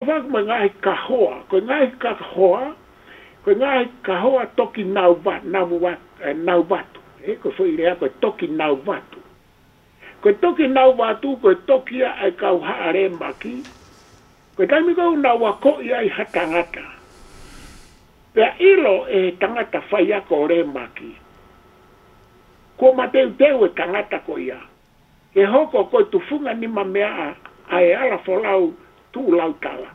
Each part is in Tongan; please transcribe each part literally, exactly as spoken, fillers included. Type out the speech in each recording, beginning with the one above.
Pea mo e ngaahi kahoa, ko e ngaahi kahoa, ko e ngaahi kahoa toki nau va-, nau va-, ē, nau vatu. Ē, ko e foʻi lea ko e toki nau vatu. Ko e toki nau vatu, ko e toki ia ʻa e kau haʻa lēmaki. Ko e taimi ko ē ʻoku nau akoʻi ai ha tangata. Pea ʻilo ʻe he tangata faiako ʻo lēmaki. Kuo mateuteu e tangata ko ia. Ke hoko ko e tufunga nima meaʻa ʻa e ala folau tuʻu lau tala.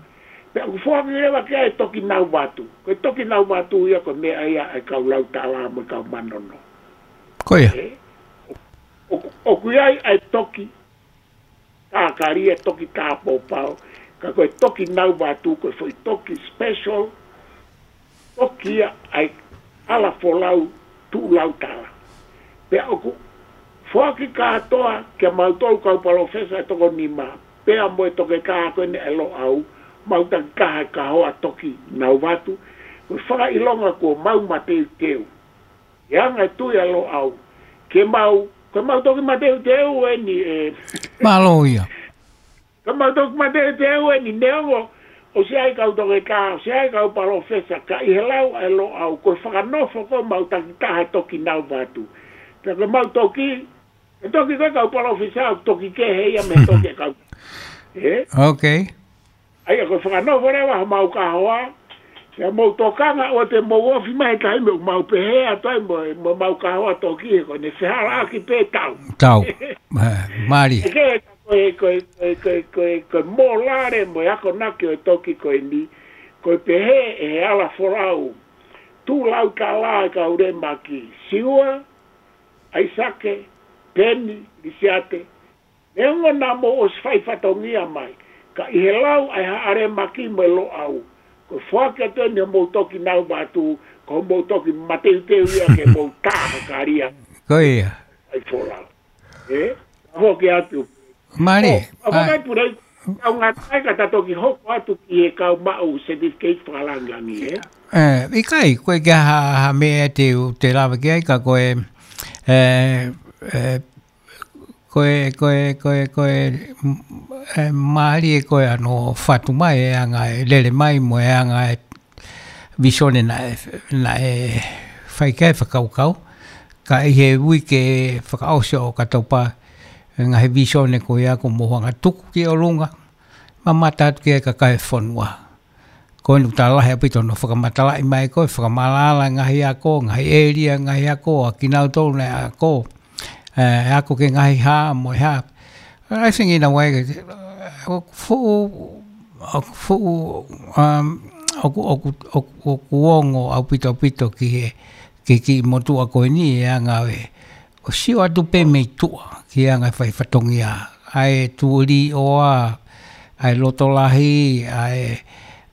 Pea ʻoku foaki leva ki ai e toki nau vatu. Ko e toki nau vatu ia ko e meʻa ia ʻa e kau lau tala mo e kau manono. Ko ia. Ē? ʻOku, ʻoku ʻi ai ʻa e toki tākali, e toki tāpōpao. Ka ko e toki nau vatu, ko e foʻi toki special. Toki ia ʻa e ala folau tuʻu lau tala. Pea ʻoku foaki kātoa kia mautolu kau palōfesa ʻe toko nima. Pea mo e toketā ko eni ʻa e Loʻau, mau takitaha e kahoa toki nau vatu. Ko e fakaʻilonga kuo mau mateuteu. ʻE anga e tui ʻa Loʻau. Ke mau, ke mau toki mateuteu eni ē. Mālō ia. Ke mau toki mateuteu eni neongo ʻosi ʻi ai kau toketā, ʻosi ʻi ai kau palōfesa, ka ʻi he lau ʻa e Loʻau, ko e fakanofo ko ē mau takitaha e toki nau vatu. Pea ko e mau toki, e toki ko ē kau palōfesa, toki kehe ia mei he toki ʻa e kau. Ē? Ok. ʻA ia ko e fakanofo leva ha mau kahoa, ia mau tokanga ʻo te mau ofi mai he taimi ʻoku mau pehē atu ai mo, mo mau kahoa toki he ko ʻene fehālaaki pē tau. Tau. Ē, mālie. ʻE ke, ko e, ko e, ko e, ko e, ko e, ko e mōlale mo e akonaki ʻo e toki ko eni, ko e pehē ʻe he ala folau, tuʻu lau tala ʻa e kau lēmaki, Siua, ʻAisake, Peni, Lisiate, neongo naʻa mou ʻosi fai fatongia mai, ka ʻi he lau ʻa e haʻa lēmaki mo e Loʻau, ko e foaki atu eni homou toki nau vatu, ko homou toki mateuteu ia ke mou tākali ia. Ko ia. ʻAi folau. Ē? Ka foki atu. Mālie. ʻO, ʻa, ʻa, ko mai pule, kau ngata ai ka ta toki hoko atu ki he kau maʻu certificate fakalangilangi, ē? Ē, ʻikai, ko e ke ha, ha meʻa te u, te lava ki ai ka ko e, ē, ē, ko e, ko e, ko e, ko e, m-, ē, mālie ko e ʻano fatu mai, e anga e lele mai mo e anga e visone naʻe, naʻe fai ki ai e fakakaukau. Ka ʻi he uike fakaʻosi ʻo Okatopa, e ngaahi visone ko ia kuo mou hanga tuku ki ʻolunga, mamata atu ki he kakai e fonua. Ko eni ʻoku tau lahi ʻaupito hono fakamatalaʻi mai ko e fakamaʻalaʻala e ngaahi ako, ngaahi ʻēlia, ngaahi ako, ʻa kinautolu naʻe ako, ē, ako ki he ngaahi hā, mo e hā. I think in a way, ʻoku fuʻu, ʻoku fuʻu, um, ʻoku, ʻoku, ʻoku, ʻoku ongo ʻaupito ʻaupito ki he, ki he kiʻi motuʻa ko eni e anga e, ʻo sio atu pē mei tuʻa, ki he anga e fai fatongia. ʻA e tuʻuli ʻoa, ʻa e loto lahi, ʻa e,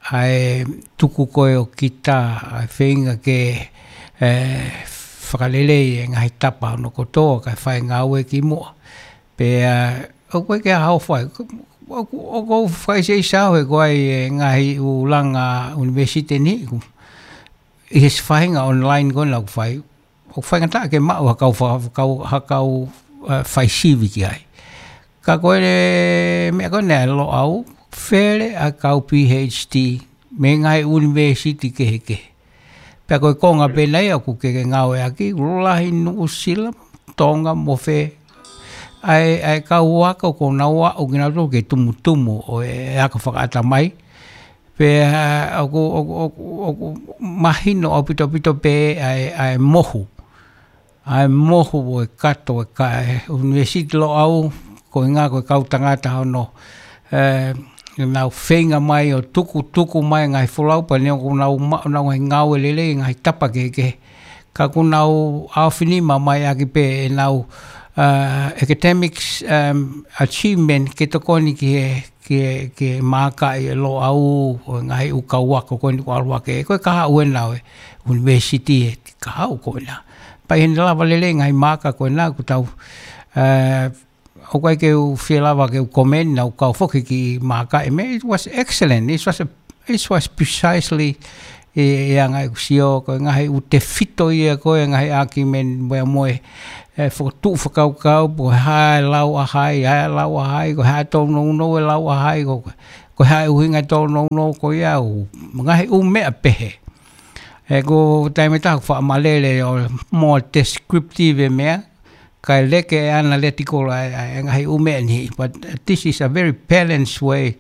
ʻa e tuku ko ē ʻo kita, ʻa e feinga ke, ē, fakalelei e ngaahi tapa hono kotoa, kae fai ngāue ki muʻa. Pea, ʻoku ʻikai ke ʻi ai ha fai, ʻoku, ʻoku ou fakaʻiseʻisa au he ko e ngaahi ʻū langa ʻunivēsiti ni, ʻoku, ʻi he faʻahinga online ko ena ʻoku fai, ʻoku faingataʻa ke maʻu ha kau fa-, ha kau, ha kau, ē, fai sivi ki ai. Ka ko e meʻa ko ena ʻa e Loʻau, fele ʻa e kau PhD, mei he ngaahi ʻunivēsiti kehekehe. Pea ko e konga pē ena ia ʻoku ke, ke ngāueʻaki, lahi Nuʻusila, Tonga mo fē. ʻA e, ʻa e kau ako ko ē naʻa nau aʻu kinautolu ki he tumutumu ʻo e ako fakaʻatamai. Pea ʻoku, ʻoku, ʻoku, ʻoku mahino ʻaupito ʻaupito pē ʻa e, ʻa e mohu. ʻA e mohu ʻo e kato e ka e ʻUnivēsiti Loʻau, ko e ʻuhinga ko e kau tangata hono, ē, nau feinga mai ʻo tukutuku mai ngaahi folau pea neongo ʻoku nau ma-, nau ngaahi ngāue lelei, ngaahi tapa kehekehe. Ka ʻoku nau ʻaofinima mai ʻaki pē ʻenau, ē, academics, um, achievement ke tokoni ki he, ki he, ki he maaka ʻi Loʻau, ʻo e ngaahi ʻū kau ako ko eni ʻoku ʻalu hake, ko e kahaʻu ena ʻo e ʻunivēsiti e kahaʻu ko ena. Pea ʻi heʻene lava lelei ngaahi maaka ko ena, ʻoku tau, ē, ʻoku ʻikai ke u fie lava ke u comment, naʻa ku kau foki ki he maaka e meʻa, it was excellent, it was a, it was precisely e, e anga ʻeku sio, ko e ngaahi ʻū tefito ia ko e ngaahi argument mo e, mo e, ē, fokotuʻu fakakaukau, ko e hā e lau ʻa hai, hā e lau ʻa hai, ko e hā e tōnounou e lau ʻa hai, ko, ko, Ko e hā e ʻuhinga e tōnounou ko ia ʻo e ngaahi ʻū meʻa pehē. He ko e taimi ʻe taha ʻoku faʻa malele ʻo more descriptive e meʻa, kae leke e analytical ʻa e, ʻa e ngaahi ʻū meʻa ni. But this is a very balanced way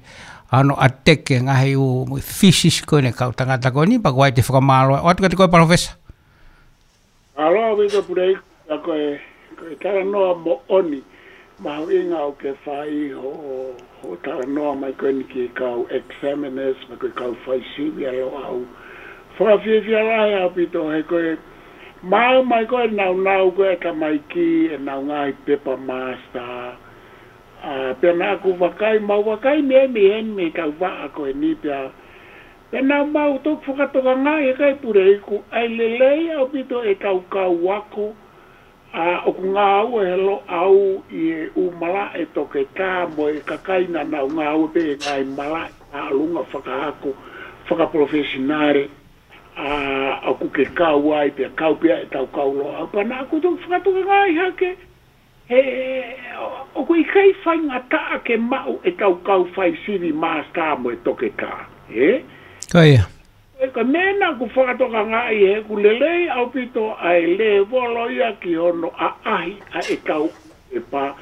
ʻa hono attack e ngaahi ʻū physics ko eni ʻa e kau tangata ko eni, pea ko ia te u fakamālō atu kiate koe Palōfesa. Mālō ʻaupito Puleiku, ʻa ko e, ko e talanoa moʻoni, mahuʻinga ʻoku ke fai hoʻo, hoʻo talanoa mai ko eni ki he kau examiners, mo e kau faisivi ʻa Loʻau. Fakafiefia lahi ʻaupito he ko e maʻu mai ko e nāunau ko e tamaiki, ʻenau ngaahi pepa master. ʻA, pea naʻa ku vakai, mau vakai mei, mei heni mei he tau vaʻa ko eni pea. Pea naʻa mau toki fakatokangaʻi ʻe kai Puleiku, ʻa e lelei ʻaupito e tau kau ako, ʻa, ʻoku ngāue he Loʻau ʻi he ʻū malaʻe toketā mo e kakai naʻa nau ngāue pē he ngaahi malaʻe ʻa ʻalunga fakaako, fakapalofesinale, ʻa, ʻoku ke kau ai pea kau pea e tau kau Loʻau. Pea naʻa ku toki fakatokangaʻi hake, he, ʻoku ʻikai faingataʻa ke maʻu e tau kau faisivi master mo e toketā, ē? Ko ia. Ko e ka meʻa naʻa ku fakatokangaʻi he ʻoku lelei ʻaupito ʻa e lēvolo ia ki hono ʻaʻahi ʻa e tau pepa.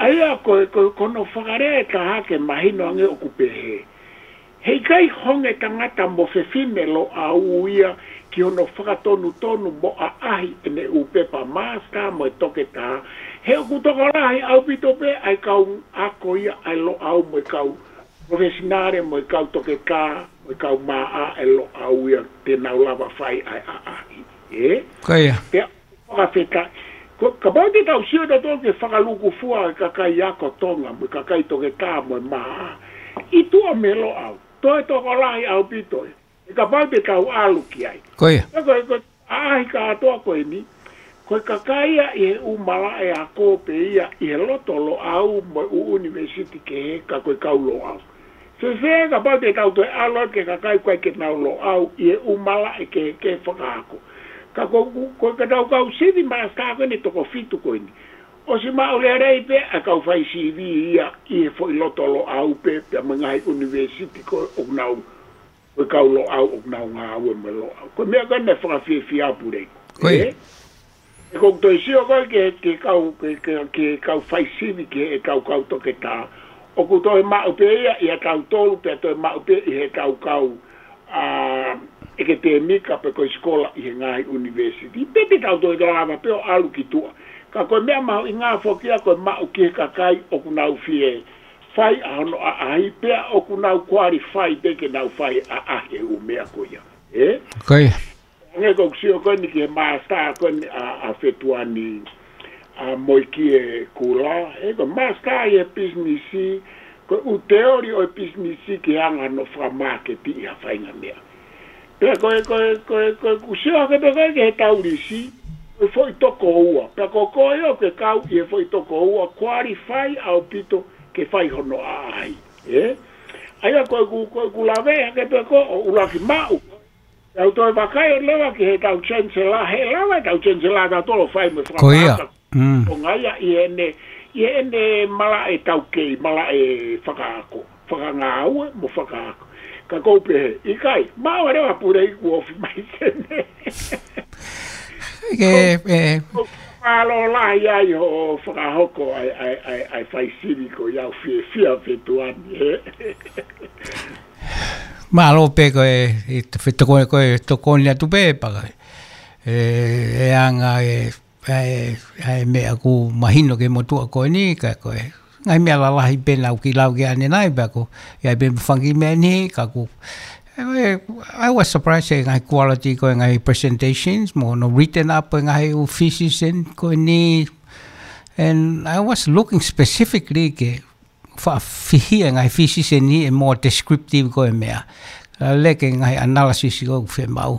ʻA ia ko e, ko e, ko hono fakalea ʻe taha ke mahino ange ʻoku pehē. He ʻikai honge tangata mo fefine Loʻau ia ki hono fakatonutonu mo ʻaʻahi ʻene ʻū pepa master mo e toketā, he ʻoku tokolahi ʻaupito pē ʻa e kau ako ia ʻa e Loʻau mo e kau professional mo e kau toketā mo e kau maʻa ʻa e Loʻau ia te nau lava fai ʻa e ʻaʻahi. Ē? Ko ia. Pea fakafetaʻi. Ko, kapau te tau sio tautolu ki he fakalūkufua ʻa e kakai ako Tonga, mo e kakai toketā, mo e maʻa. ʻI tuʻa mei Loʻau. Toe tokolahi ʻaupito ē. He kapau te tau ʻalu ki ai. Ko ia. Ko e, ko e, ʻaʻahi kātoa ko eni. Ko e kakai ia ʻi he ʻū malaʻe ako pē ia ʻi he loto Loʻau mo e ʻū ʻunivēsiti kehe ka ko e kau Loʻau. Fēfē kapau te tau toe ʻalu ki he kakai ʻoku ʻikai ke nau Loʻau ʻi he ʻū malaʻe kehe, kehe fakaako. Ka ko, ko, ko e ka tau kau sivi master ko eni toko fitu ko eni. ʻOsi maʻu lelei pē ʻa e kau fai sivi ia ʻi he foʻi loto Loʻau pē, pea mo e ngaahi ʻunivēsiti ko ē ʻoku nau, ko e kau Loʻau ʻoku nau ngāue mo e Loʻau. Ko e meʻa ko ē naʻe fakafiefia Puleiku. Ko ia. Ē? He ko e toe sio ko ē ki he, ki he kau, ki he, ki he, ki he kau fai sivi ki he kau, kau toketā. ʻOku toe maʻu pē ia ʻia tautolu, pea toe maʻu pē ʻi he kau, kau, ʻa, ʻeketēmika pe ko e sikola ʻi he ngaahi ʻunivēsiti. Pea te tau toe lava pē ʻo ʻalu ki tuʻa. Ka ko e meʻa mahuʻinga foki ia ko e maʻu ki he kakai ʻoku nau fie fai ʻa hono ʻaʻahi pea ʻoku nau qualify pē ke nau fai ʻaʻahi e ʻū meʻa ko ia. Ē? Ko ia. Hangē ko ʻeku sio ko eni ki he master ko eni ʻa, ʻa Fetuani, ʻa Moekie Kula, ē, ko e master ʻi he pisinisi, ko e ʻū teoli ʻo e pisinisi ki he anga hono fakamāketiʻi ha faʻahinga meʻa. Pea ko e, ko e, ko e, ko ʻeku sio hake pē ko ē ki he taulisi, ko e foʻi toko ua. Pea ko koe ʻoku ke kau ʻi he foʻi toko ua, qualify ʻaupito ke fai hono ʻaʻahi. Ē? ʻA ia ko ʻeku, ko ʻeku lave hake pē ko ē ʻo ʻuluaki maʻu. Tau toe vakai ʻo leva ki he tau chancellor, he lava e tau chancellor tautolu ʻo fai mo e Ko ia. fakapāka. Mm. ʻO ngaia ʻi heʻene, ʻi heʻene malaʻe taukei, malaʻe fakaako, fakangāue mo fakaako. Ka ʻoku ou pehē, ʻikai, maʻu leva Puleiku ofi mai sene. Ke, ē. Mālō lahi ai hoʻo fakahoko ʻa e, ʻa e, ʻa e, ʻa e fai sivi ko ia ʻoku fiefia Fetuani, ē. Mālō pē ko e, ʻi he fetoko-, ko e tokoni atu pē paka. ʻE, ʻe anga e, e, e meʻa ʻoku mahino ki he motuʻa ko eni, ka ko e ngaahi meʻa lalahi pē naʻa ku kiʻi lau ki ai ʻanenai, pea ko e, ʻi ai pē mo e fanga kiʻi meʻa ni, ka ʻoku, e, e, I was surprised he ngaahi quality ko e ngaahi presentations, mo hono written up e ngaahi ʻū thesis ko eni, and I was looking specifically ke faʻa fihia e ngaahi thesis ni ʻe more descriptive ko e meʻa. Ka leke e ngaahi analysis ko ē ʻoku fiemaʻu.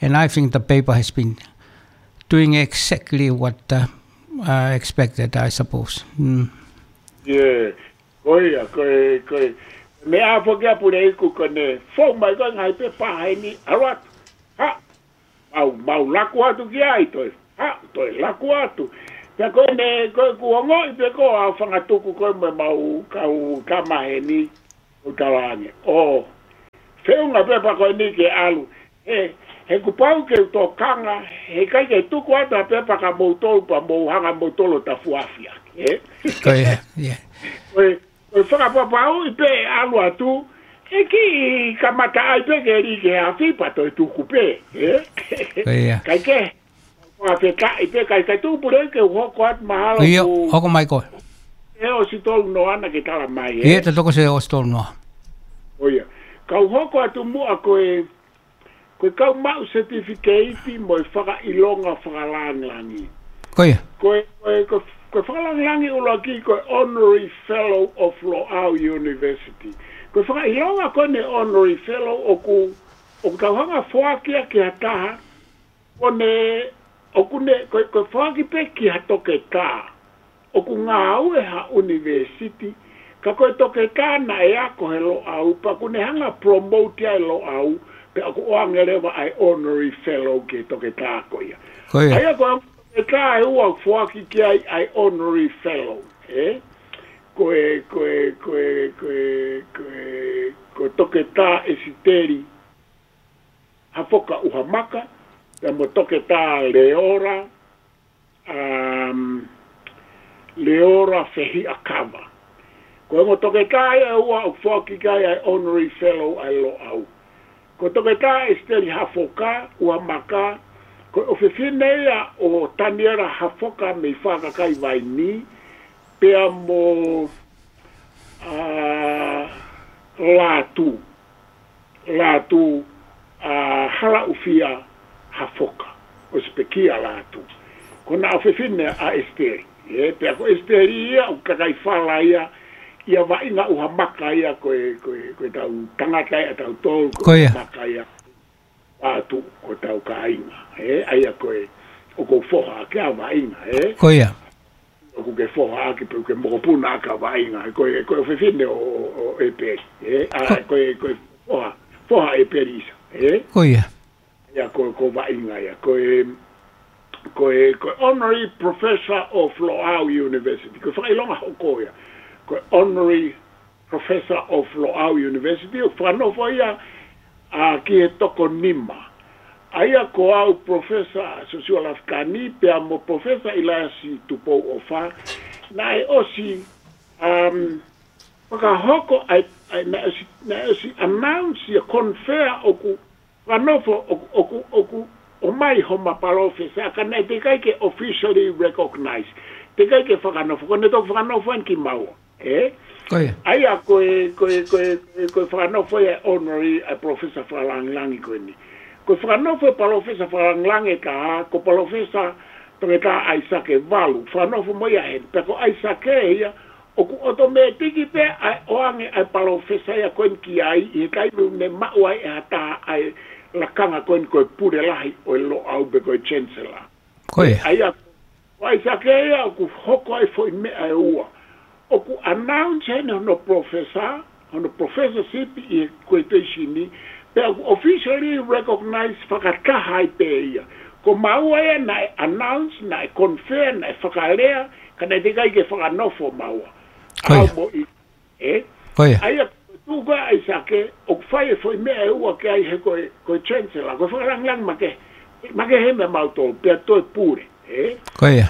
And I think the paper has been doing exactly what, uh, I expected, I suppose. Mm. Yeah. Ko ia, ko e, ko e. Meʻa foki ʻa Puleiku ko ʻene fou mai ko e ngaahi pepa heni, ʻalu atu. Ha, mau, mau laku atu ki ai, toe, ha, toe laku atu. Pea ko ʻene, ko ʻeku ongoʻi pē ko ʻeku fanga tuku ko ē mo ʻemau kau tama heni. ʻo talaange. ʻO feʻunga pē pea ko eni ke ʻalu. He, he kuo pau ke u tokanga, he ʻikai ke tuku atu ha pepa kia moutolu pea mou hanga moutolu ʻo tafuafi ʻaki, ē? Ko ia, ia. Ko e, ko e fakapapauʻi pē ʻe ʻalu atu, ʻe kiʻi kamata ai pē ke lī ke afi pea toe tuku pē, ē? Ko ia. Kae kehe, fakafetaʻi pē, kae, kae tuku pule ke u hoko atu mahalo. Ia, ku hoko mai koe. ʻE ʻosi tolu noa naʻa ke tala mai, ē? Ia, te u toki ʻosi, ʻosi tolu noa. ʻO ia. Kau hoko atu muʻa ko e, ko e kau maʻu certificate mo e fakaʻilonga fakalāngilangi. Ko ia. Ko e, ko e, ko e, ko e fakalāngilangi ʻuluaki ko e Honorary Fellow of Loʻau University. Ko e fakaʻilonga ko eni Honorary Fellow ʻoku, ʻoku tau hanga foaki ia ki ha taha, ʻo ne, ʻoku ne, ko e, ko e foaki pē ki ha toketā ʻoku ngāue ha ʻunivēsiti, ka ko e toketā naʻe ako he Loʻau, pea ʻoku ne hanga promote ai Loʻau, pea ʻoku ʻoange leva ʻa e Honorary Fellow ki he toketā ko ia. Ko ia. ʻA ia ko e toketā ʻe ua ʻoku foaki ki ai ʻa e Honorary Fellow, ē? Ko e, ko e, ko e, ko e, ko e, ko e toketā ʻEsiteli Hafoka ʻUhamaka, pea mo toketā Leora, um, Leora Fehiʻakava. Ko e ongo toketā ia ʻe ua ʻoku foaki ki ai ʻa e Honorary Fellow ʻa e Loʻau. Ko toketā ʻEsiteli Hafoka ʻUhamaka, ko e ʻofefine ia ʻo Taniela Hafoka mei Fakakai Vaini, pea mo, ā, Lātū. Lātū, ā, Halaʻufia Hafoka, ʻosi pekia Lātū. Ko ʻena ʻofefine ʻa ʻEsiteli. Ē, pea ko ʻEsiteli ia, ʻoku kakai fala ia, ʻia Vaʻinga ʻUhamaka ia, ko e, ko e, ko e tau tangata ia, tau tolu, ko ia. ʻUhamaka ia. Lātū, ko hotau kāinga. Ē, ʻa ia ko e, ʻoku ou foha ʻaki ʻa Vaʻinga, ē. Ko ia. ʻOku ke foha ʻaki pe ʻoku ke mokopuna ʻaki ʻa Vaʻinga, ē, ko e, ko e ʻofefine ʻo, ʻo, ʻo ʻEpeli, ē, ʻa, ko, ko e, ko e foha, foha ʻEpeli Isa, ē. Ko ia. Ia ko, ko Vaʻinga ia, ko e, ko e, ko e Honorary Professor of Loʻau University, ko e fakaʻilonga hoko ia, ko e Honorary Professor of Loʻau University, ʻoku fakanofo ia, ā, ki he toko nima. ʻA ia ko au Professor Siosiua Lafitani, pea mo Professor ʻIlaiasi Tupou ʻOfa, naʻe ʻosi, um, fakahoko ai, ai, naʻe ʻosi, naʻe ʻosi announce ia, confirm ʻoku fakanofo, ʻoku, ʻoku, ʻoku ʻomai homa palōfesa, ka naʻe teʻeki ai ke officially recognize. Teʻeki ai ke fakanofo, ko ʻene toki fakanofo eni kimaua. Ē? Ko ia. ʻA ia ko e, ko e, ko e, ko e, ko e fakanofo ia ʻa e honorary ʻa e palōfesa fakalāngilangi ko eni. Ko e fakanofo e palōfesa fakalāngilangi ʻe taha, ko Palōfesa Toketā ʻAisake Valu. Fakanofo mo ia heni. Pea ko ʻAisake ia, ʻoku ʻotomētiki pē ʻa e ʻoange ʻa e palōfesa ia ko eni ki ai, ʻi he taimi ʻoku ne maʻu ai ʻe ha taha ʻa e lakanga ko eni ko e pule lahi ʻo e Loʻau pe ko e Chancellor. Ko ia. ʻA ia, ko ʻAisake ia ʻoku hoko ai foʻi meʻa ʻe ua. ʻOku announce heni hono professor, hono professorship ʻi he graduation ni, pea ʻoku officially recognize fakataha ai pē ia. Ko maua ia naʻe announce, naʻe confirm, naʻe fakalea, ka naʻe teʻeki ai ke fakanofo maua. Ko ia. ʻAu mo i Ē? Ko ia. ʻA ia, tuʻu ko ē ʻAisake, ʻoku fai e foʻi meʻa ʻe ua ki ai he ko e, ko e Chancellor, ko e fakalāngilangi makehe, makehe meia mautolu, pea toe pule, ē? Ko ia.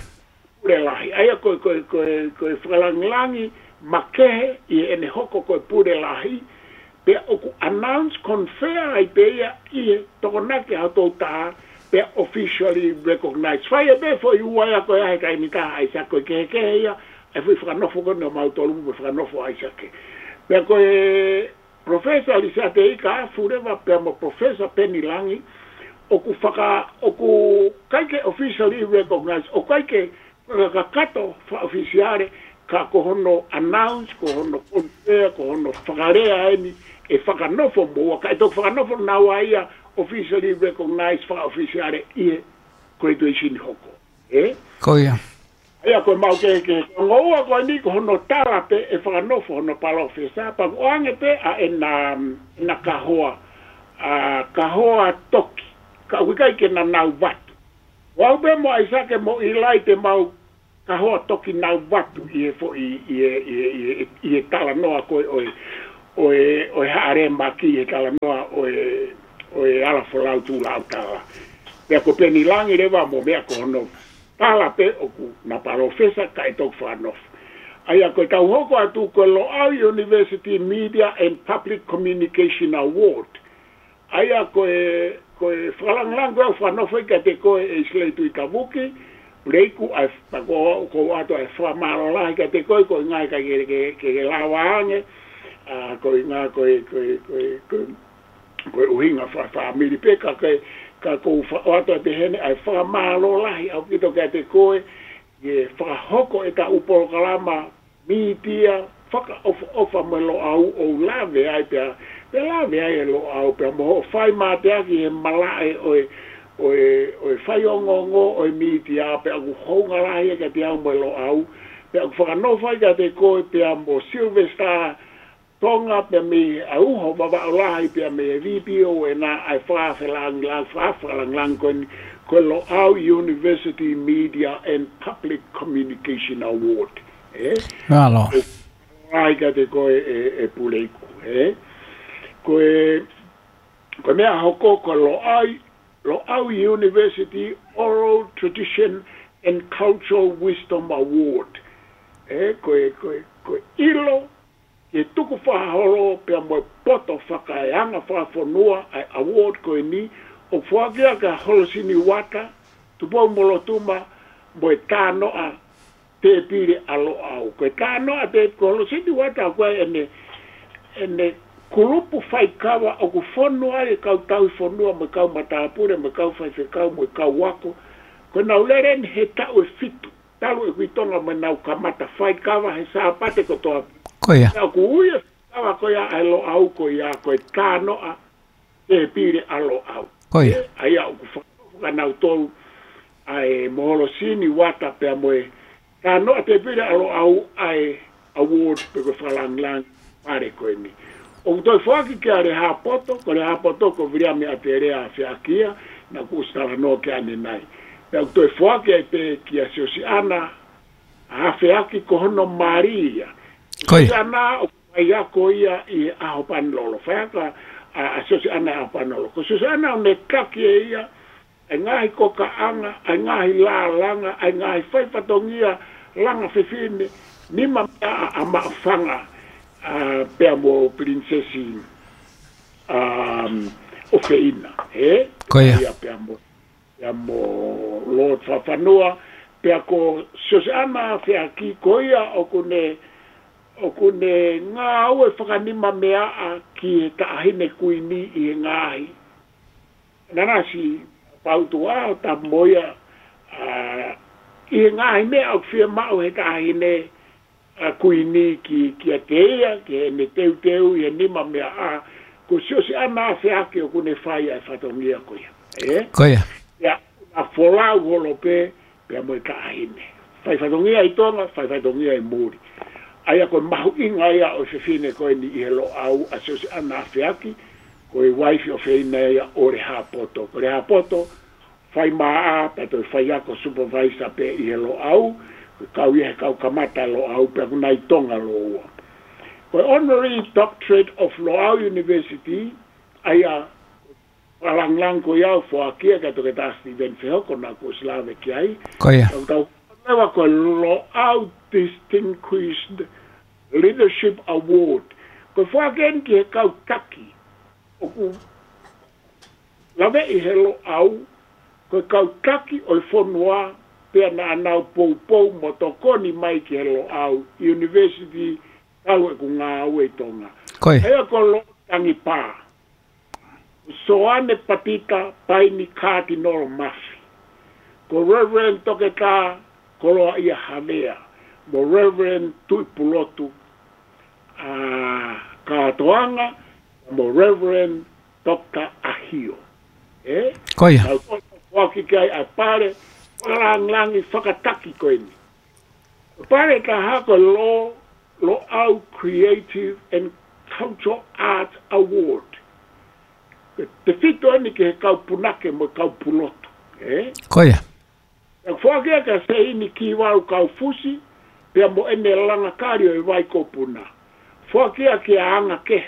Pule lahi. ʻA ia ko e, ko e, ko e, ko e fakalāngilangi makehe ʻi heʻene hoko ko e pule lahi, pea ʻoku announce confirm ai pē ia ʻi he tokonaki ʻa hotau taha, pea officially recognized. Fai ʻe pē foʻi ua ia ko ē he taimi ʻe taha ʻAisake, ko e kehekehe ia, ʻa e foʻi fakanofo ko eni ʻo mautolu mo e fakanofo ʻo ʻAisake. Pea ko e Professor Lisiate Ika Afu leva pea mo Professor Peni Langi, ʻoku faka-, ʻoku ʻikai ke officially recognized, ʻoku ʻikai ke fakakakato fakaʻofisiale, ka ko hono announce, ko hono confirm, ko hono fakalea eni ʻe fakanofo moua, kae toki fakanofo naua ia officially recognized fakaʻofisiale ʻi he graduation hoko. Ē? Ko ia. ʻA ia ko e maʻu kehekehe. Ko e ongo ua ko eni ko hono tala pē ʻe fakanofo hono palōfesa, pea ʻoku ʻoange pē ʻa ʻena, ʻena kahoa, ʻa, kahoa toki. Ka ʻoku ʻikai ke na nau vatu. Ko au pē mo ʻAisake mo ʻIlai te mau kahoa toki nau vatu ʻi he foʻi, ʻi he, ʻi he, ʻi he, ʻi he talanoa ko ē ʻo e, ʻo e, ʻo e haʻalemaki he talanoa ʻo e, ʻo e ala folau tū lau tala. Pea ko Peni Langi leva mo meʻa ko hono tala pē ʻoku na palōfesa kae toki fakanofo. ʻA ia ko e tau hoko atu ko e Loʻau University Media and Public Communication Award. ʻA ia ko e, ko e fakalāngilangi ko ē ʻoku fakanofo ai kiate koe ʻe Isileli Tuʻi Tavuki, Puleiku, ʻa e, pea ko, ko ʻoatu ʻa e fakamālō lahi kiate koe, ko e ngaahi ka ke, ke, ke, ke lava ange, ʻa, ko e ngaahi ko e, ko e, ko e, ko e, ko e ʻuhinga fa-, fāmili pē ka ke, ka ko fa-, ʻoatu ʻa e pehē ni ʻa e fakamālō lahi ʻaupito kiate koe, ʻi he fakahoko ʻetau polokalama mītia fakaʻofoʻofa mo e Loʻau ʻo lave ai pea, pea lave ai e Loʻau pea mo hoʻo fai mateaki he malaʻe ʻo e, ʻo e, ʻo e faiongoongo ʻo e mītia pea ʻoku hounga lahi ai kiate au mo e Loʻau, pea ʻoku fakanofo ai kiate koe pea mo Sylvester Tonga pea mei he ʻauho Vavaʻu Lahi pea mei he V P O ʻena ʻa e fakafelāngilangi, fakafelāngilangi ko eni, ko e Loʻau University Media and Public Communication Award. Ē? Mālō. ʻOku lahi kiate koe ʻe, ʻe Puleiku, ē? Ko e, ko e meʻa hoko ko e Loʻau, Loʻau University Oral Tradition and Cultural Wisdom Award. Ē, ko e, ko e, ko e ʻilo ke tukufakaholo pea mo e poto fakaeanga fakafonua ʻa e award ko eni, ʻoku foaki ia kia Holosini Uata, Tupou-mo-Lotuma, mo e Tānoʻa Tēpile ʻa Loʻau. Ko e Tānoʻa Tē-, ko Holosini Uata ko ē ʻene, ʻene kulupu faikava ʻoku fonu ai e kau tauhi fonua mo e kau matāpule mo e kau faifekau mo e kau ako. Ko ʻenau lele eni he taʻu ʻe fitu talu ʻeku ʻi Tonga mo ʻenau kamata faikava he Sāpate kotoa. Ko ia. Pea ʻoku ui e faikava ko ia ʻa e Loʻau ko ia ko e Tānoʻa Tēpile ʻa Loʻau. Ko ia. Ē, ʻa ia ʻoku fa-, fakanautolu ʻa e mo Holosini Uata pea mo e Tānoʻa Tēpile ʻa Loʻau ʻa e award pe ko e fakalāngilangi pale ko eni. ʻOku toe foaki kia Lehāpoto, ko Lehāpoto ko Viliami ʻAtelea Afeaki ia, naʻa ku ʻosi talanoa ki ai ʻanenai. Pea ʻoku toe foaki ai pē kia Siosiʻana Afeaki ko hono mali ia. Ko ia. Siosiʻana ʻoku faiako ia ʻi he ʻAho Panelola. Faiako ʻa, ʻa Siosiʻana ʻi he ʻAho Panelola. Ko Siosiʻana ʻoku ne taki ʻe ia ʻa e ngaahi kokaʻanga, ʻa e ngaahi lālanga, ʻa e ngaahi fai fatongia langa fefine, nima meʻa ʻa, ʻa Maʻufanga, ʻa, pea mo Pilinisesi, um, ʻOfeina, ē? Ko ia. Ia pea mo, pea mo Lord Fafanua, pea ko Siosiʻana Afeaki, ko ia ʻoku ne, ʻoku ne ngāue fakanima meʻa ki he taʻahine kuini ʻi he ngaahi. Nanasi pautu a o ta mo ia, ʻa, ʻi he ngaahi meʻa ʻoku fiemaʻu he taʻahine, ʻa, kuini ki, kiate ia, ki heʻene teuteu ʻi he nima meʻa, ʻa, ko Siosiʻana Afeaki ʻoku ne fai ʻa e fatongia ko ia. Ē? Ko ia. Ia, na folau holo pē, pea mo e taʻahine. Fai fatongia ʻi Tonga, fai fatongia ʻi muli. ʻA ia ko e mahuʻinga ia ʻo e fefine ko eni ʻi he Loʻau ʻa Siosiʻana Afeaki, ko e uaifi ʻofeina ia ʻo Lehāpoto. Ko Lehāpoto, fai maʻa, pea toe faiako supervisor pē ʻi he Loʻau, ko e kau ia he kau kamata Loʻau, pea ʻoku na ʻi Tonga lōua. Ko e Honorary Doctorate of Loʻau University, ʻa ia fakalāngilangi ko ia ʻoku foaki ia kia Toketā Steven Fehoko naʻa ku ʻosi lave ki ai. Ko ia. Tau tau leva ko e Loʻau Distinguished Leadership Award. Ko e foaki eni ki he kau taki ʻoku laveʻi he Loʻau, ko e kau taki ʻo e fonua, pea naʻa nau poupou mo tokoni mai ki he Loʻau University talu ʻeku ngāue ʻi Tonga. Ko ia. ʻA ia ko Lord Tangipā, Soane Patita Paini Kātinolo Mafi, ko Reverend Toketā Koloaʻia Havea, mo Reverend Tuʻipulotu, ʻa, Kātoanga, mo Reverend Doctor ʻAhio. Ē? Ko ia. Tau foaki ki ai ʻa e pale fakalāngilangi fakataki ko eni. Pale ʻe taha ko e Lo-, Loʻau Creative and Cultural Arts Award. Tefito eni ki he kau punake mo e kau pulotu. Ē? Ko ia. ʻOku foaki ia kia Seini Kivalu Kaufusi, pea mo ʻene langa kali ʻo e vai ko Puna. Foaki ia kia Anga Kehe,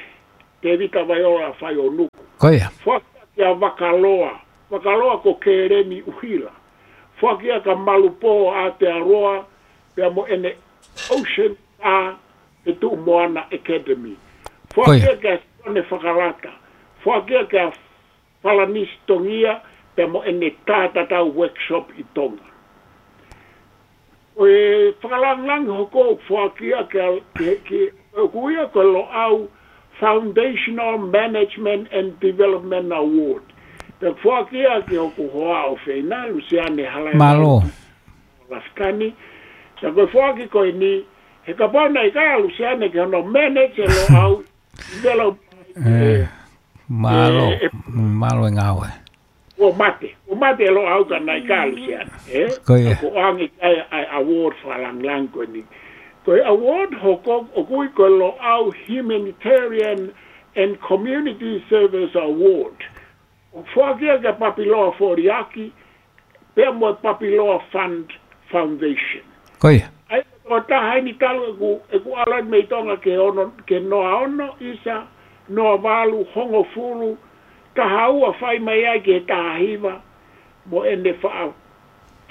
Tēvita Vaiola Faionuku. Ko ia. Foaki ia kia Vakaloa, Vakaloa ko Kēleni ʻUhila. Foaki ia kia Malupō ʻAtearoa, pea mo ʻene Ocean Star Fetuʻumoana Academy. Ko ia. Foaki ia kia Sione Fakalata. Foaki ia kia Falanisi Tongia, pea mo ʻene tā tatau workshop ʻi Tonga. Ko e fakalāngilangi hoko ʻoku foaki ia ke, ke, ke, ʻoku ui ia ko e Loʻau Foundational Management and Development Award. Pea foaki ia ki hoku hoa ʻofeina, Lusiane Halaevalu Mālō. Lafitani. Pea ko e foaki ko eni, he kapau naʻe ʻikai ʻa Lusiane ke hono manage e Loʻau develop, ʻĒ, eh, mālō, eh, eh, mālō e ngāue. Kuo mate, kuo mate e Loʻau ka naʻe ʻikai ʻa Lusiane, ē? Ko ia. Ka ko e ʻuhinga ia ʻa e award fakalāngilangi ko eni. Ko e award hoko ʻoku ui ko e Loʻau Humanitarian and Community Service Award. ʻOku foaki ia kia Papiloa Foliaki, pea mo e Papiloa Fund Foundation. Ko ia. ʻA ia, ko e taha eni talu ʻeku, ʻeku ʻalu mei Tonga ki he ono, ki he noa ono, ʻisa, noa valu, hongofulu, taha ua fai mai ai ki he taha hiva, mo ʻene faʻa,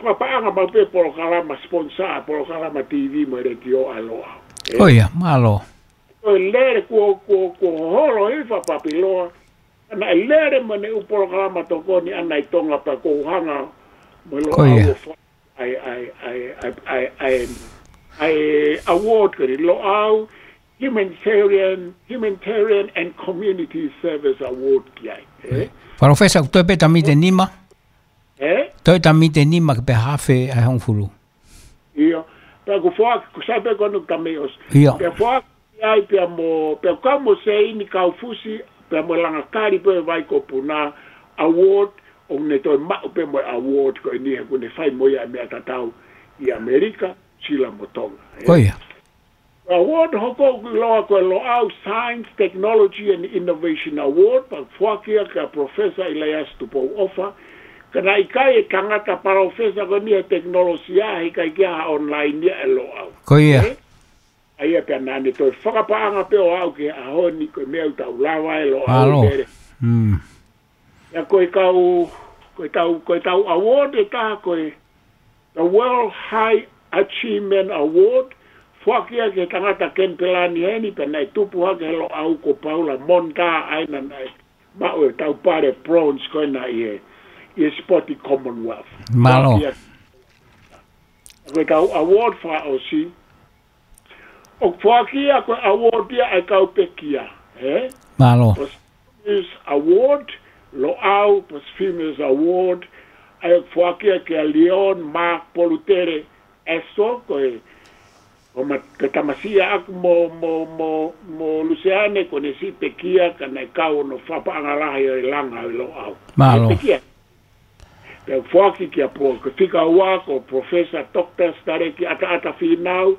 fakapaʻanga maʻu pē polokalama sponsor, polokalama T V mo e letiō ʻa e Loʻau. Ē? Ko ia, mālō. Ko e lele kuo, kuo, kuo holo hifo ʻa Papiloa, naʻe lele mo ʻene ʻū polokalama tokoni ʻaʻana ʻi Tonga pea ʻoku ou hanga mo e Loʻau ʻo foaki ʻa e, ʻa e, ʻa e award ko eni, Loʻau Humanitarian, Humanitarian and Community Service Award ki ai, ē? Palōfesa, ʻoku toe pē tamite nima? Ē? Toe tamite nima ke pehē ʻe hongofulu. ʻIo, pea ʻoku foaki, ʻoku sai pē ko eni ʻoku tamite ʻosi. ʻIo. Pea foaki ai pea mo, pea kau mo Seini Kaufusi, pea mo Langakali pē Vaikopuna, award, ʻoku ne toe maʻu pē mo e award ko eni he ʻoku ne fai mo ia e meʻa tatau ʻi ʻAmelika, Sila mo Tonga. Ko ia. Award hoko ʻoku ʻiloa ko e Loʻau Science, Technology and Innovation Award, pea foaki ia kia Professor Elias Tupou ʻOfa, ka naʻe ʻikai e tangata palōfesa ko eni he tekinolosia, he ʻikai ke ʻi ai ha online ia ʻe Loʻau. Ko ia. Ē? ʻA ia pea naʻa ne toe fakapaʻanga pē ʻo aʻu ki he ʻaho ni ko e meʻa ʻoku tau lava ʻe Loʻau mālō. Pele. Mm. ʻA ia ko e kau, ko e tau, ko e tau award ʻe taha ko e, the World High Achievement Award, foaki ia ki he tangata Kenipela ni heni, pea naʻe tupu hake he Loʻau ko Paula Monta, ʻa ia naʻa ne maʻu e tau pale bronze ko ena ʻi he, ʻi he sipoti Commonwealth. Mālō. Foaki ia. Ko e tau award fakaʻosi, ʻoku foaki ia ko e award ia ʻa e kau pekia, ē? Mālō. Posthumous Award, Loʻau Posthumous Award, ʻa ia ʻoku foaki ia kia Leon Mark Polutele Esso, ko e, ko ma-, ko e tamasiʻi ʻaʻaku mo, mo, mo, mo Luseane, ko ʻene siʻi pekia, ka naʻe kau hono fakapaʻanga lahi ʻo e langa ʻo e Loʻau. Mālō. Pekia. Pea foaki kia po, ko e fika ua ko Professor Doctor Sitaleki ʻAtaʻata Fīnau,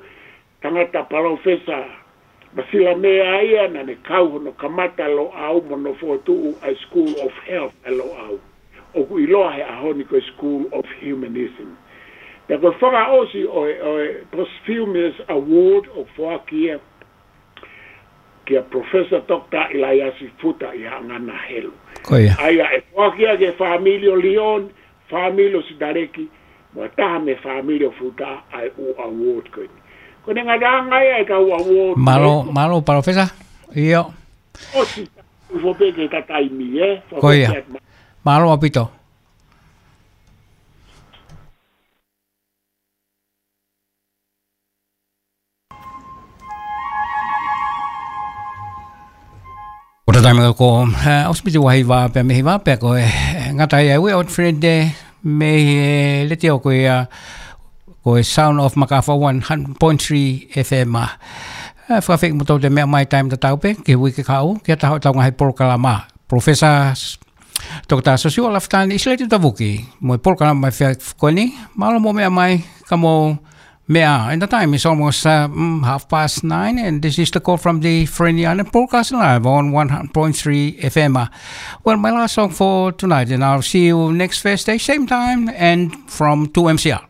tangata palōfesa Masilamea ia, naʻa ne kau hono kamata Loʻau mo hono fokotuʻu ʻa e School of Health ʻa Loʻau, ʻoku ʻiloa he ʻaho ni ko e School of Humanism. Pea ko e fakaʻosi ʻo e, ʻo e Posthumous Award ʻoku foaki ia kia Professor Doctor ʻIlaiasi Futa ʻi Haʻangana Helu. Ko ia. ʻA ia ʻe foaki ia ki he fāmili ʻo Leon, fāmili ʻo Sitaleki, mo e taha mei he fāmili ʻo Futa ʻa e ʻū award ko eni. Ko ʻene ngataʻanga ia e kau award. Mālō, ē? Mālō, Palōfesa. ʻIo. ʻOsi, ʻosi pē ke ta taimi, ē? Ko ia. Mālō ʻaupito. Ko e taimi ko, eh, ʻosi piti ua hiva pea mei hiva pea ko e, eh, ngata ai ʻa e We Out Friend Day mei he, eh, letiō ko ia, ko e Sound of Makafa one hundred point three F M. Eh, fakafeʻi mo tau te meʻa mai taimi tatau pē, ki he uike kahaʻu, ki ha taha ʻo ʻetau ngaahi polokalama. Professor Toketā Siosiua Lafitani, ʻIsileli Tavuki, mo e polokalama mai fea ko eni, mālō mo meʻa mai, ka mou meʻa. And the time is almost, uh, mm, half past nine, and this is the call from the Friendly Island broadcast live on one hundred point three F M. Well, my last song for tonight, and I'll see you next Thursday, same time, and from two M C R.